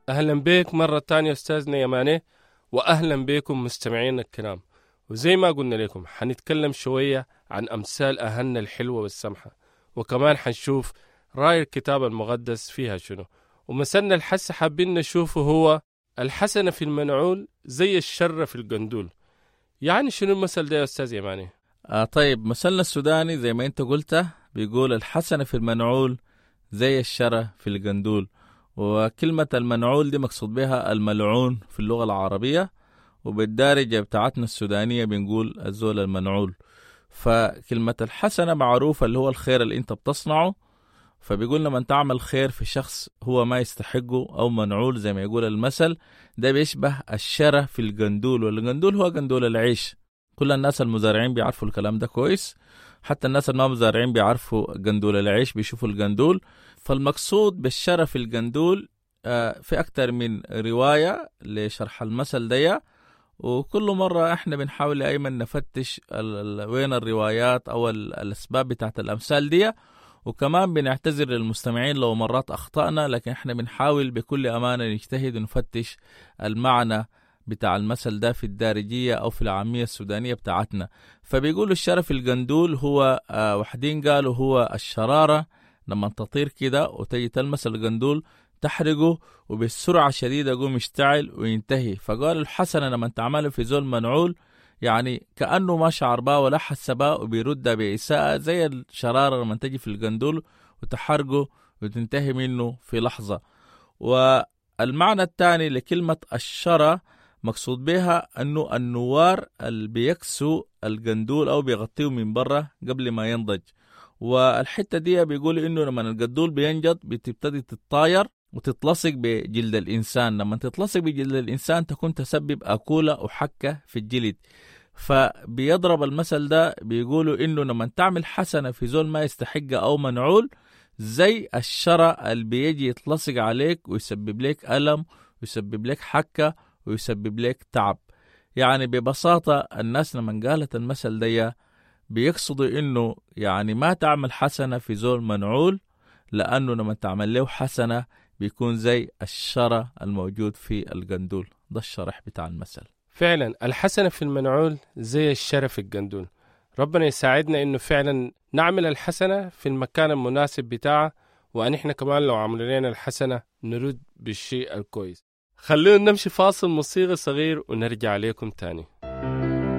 أهلا بك مرة تانية أستاذنا يماني، وأهلا بكم مستمعينا الكرام. وزي ما قلنا لكم حنتكلم شوية عن أمثال أهلنا الحلوة والسمحة، وكمان حنشوف رأي الكتاب المقدس فيها شنو. ومثلنا الحس حابين نشوفه هو الحسنة في المنعول زي الشر في القندول. يعني شنو المثل ده يا أستاذ يماني؟ طيب، مثلنا السوداني زي ما انت قلت بيقول الحسنة في المنعول زي الشرة في القندول. وكلمة المنعول دي مقصود بها الملعون في اللغة العربية، وبالدارجة بتاعتنا السودانية بنقول الزول المنعول. فكلمة الحسنة معروفة اللي هو الخير اللي انت بتصنعه، فبيقول لما تعمل خير في شخص هو ما يستحقه أو منعول زي ما يقول المثل ده، بيشبه الشرة في القندول. والقندول هو قندول العيش، كل الناس المزارعين بيعرفوا الكلام ده كويس، حتى الناس الما مزارعين بيعرفوا قندول العيش، بيشوفوا القندول. فالمقصود بالشرة في القندول في أكتر من رواية لشرح المثل ده، وكل مرة احنا بنحاول أيمن نفتش وين الروايات أو الأسباب بتاعت الأمثال دي، وكمان بنعتذر للمستمعين لو مرات أخطأنا، لكن احنا بنحاول بكل أمانة نجتهد ونفتش المعنى بتاع المثل ده في الدارجية أو في العامية السودانية بتاعتنا. فبيقولوا الشرف القندول هو وحدين قالوا هو الشرارة لما تطير كده وتجي تلمس القندول تحرقه وبالسرعة شديدة يقوم يشتعل وينتهي. فقالوا الحسنة لما تعمله في زول منعول يعني كأنه ما شعر بها ولا حس بها وبيردها بإساءة زي الشرارة لما تجي في القندول وتحرقه وتنتهي منه في لحظة. والمعنى الثاني لكلمة الشرى مقصود بها أنه النوار اللي بيكسو القندول أو بيغطيه من برا قبل ما ينضج. والحتة دي بيقول إنه لما القندول بينجض بتبتدي تتطاير وتتلصق بجلد الإنسان، لما تتلصق بجلد الإنسان تكون تسبب أكولة وحكة في الجلد. فبيضرب المثل ده بيقولوا إنه لما تعمل حسنة في زول ما يستحق أو منعول زي الشرى اللي بيجي يتلصق عليك ويسبب لك ألم ويسبب لك حكة ويسبب لك تعب. يعني ببساطة الناس لما قالت المثل ده بيقصدوا إنه يعني ما تعمل حسنة في زول منعول، لأنه لما تعمل له حسنة بيكون زي الشرى الموجود في القندول. ده الشرح بتاع المثل. فعلا الحسنة في المنعول زي الشرى في القندول. ربنا يساعدنا إنه فعلا نعمل الحسنة في المكان المناسب بتاعه، وأن إحنا كمان لو عملوا لنا الحسنة نرد بالشيء الكويس. خلونا نمشي فاصل موسيقي صغير ونرجع لكم تاني.